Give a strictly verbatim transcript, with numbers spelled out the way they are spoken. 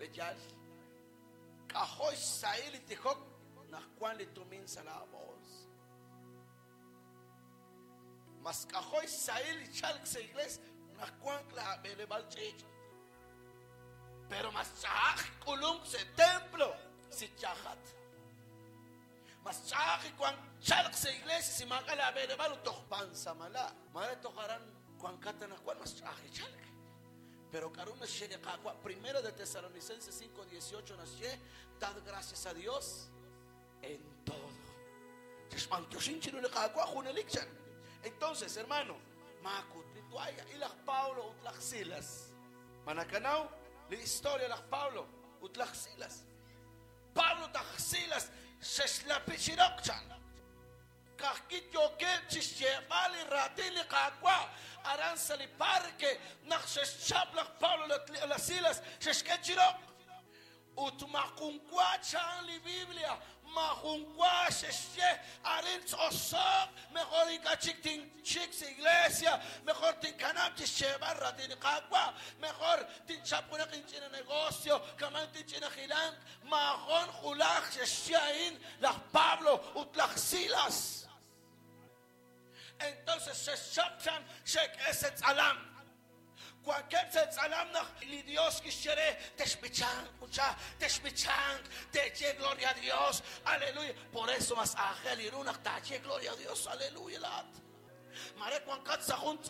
Peyal. K'ajo' xsahil li tijok naq wank li tumin sa' laabols. Mas k'ajo' xsahil li chalk sa' iglesia naq wank laab'eleb'aal ch'iich'. Pero mas ch'a'aj k'ulunk sa' templo si yajat. Mas ch'a'aj wank chalk sa' iglesia si maak'a' laab'eleb'aal ut toj pansamala'. Mare toj aran wankat anaqwan mas ch'a'aj li chalk. Pero k'aru naxye li Qaawa'? Primero de Tesalonicenses cinco dieciocho naxye, dad gracias a Dios en todo. Chixb'antioxin chiru li Qaawa' junelik chan. Entonces, hermano, maakut li toalla y laj Pablo ut laj Silas. Manakanaw li historia laj Pablo ut laj Silas. Pablo ut laj Silas xexlapi chiroq chan. Kajki yookeb' chixyeeb'al li raatin li Qaawa' aran sa' li parque naq xexchap laj Pablo laj Silas xexk'e chiroq. Ut majun wa chan li Biblia, majun wa xexye arin tz'osoq, mejor ink'a' chik tinchik sa' iglesia, mejor tinkanab' chixyeeb'al raatin li Qaawa', mejor tinchap junaq inch'ina negocio, kaman tinch'ina jilank, majon julaj xexye a'in laj Pablo ut laj Silas. Entonces xexchap chan xek'e sa' tz'alam. Wankeb' sa' tz'alam naq li Dios kixye re texb'ichanq ucha, texb'ichanq, teche gloria a Dios, aleluya. Por eso mas aajel ru naq taaye gloria a Dios, aleluya laat. Mare wankat sa' jun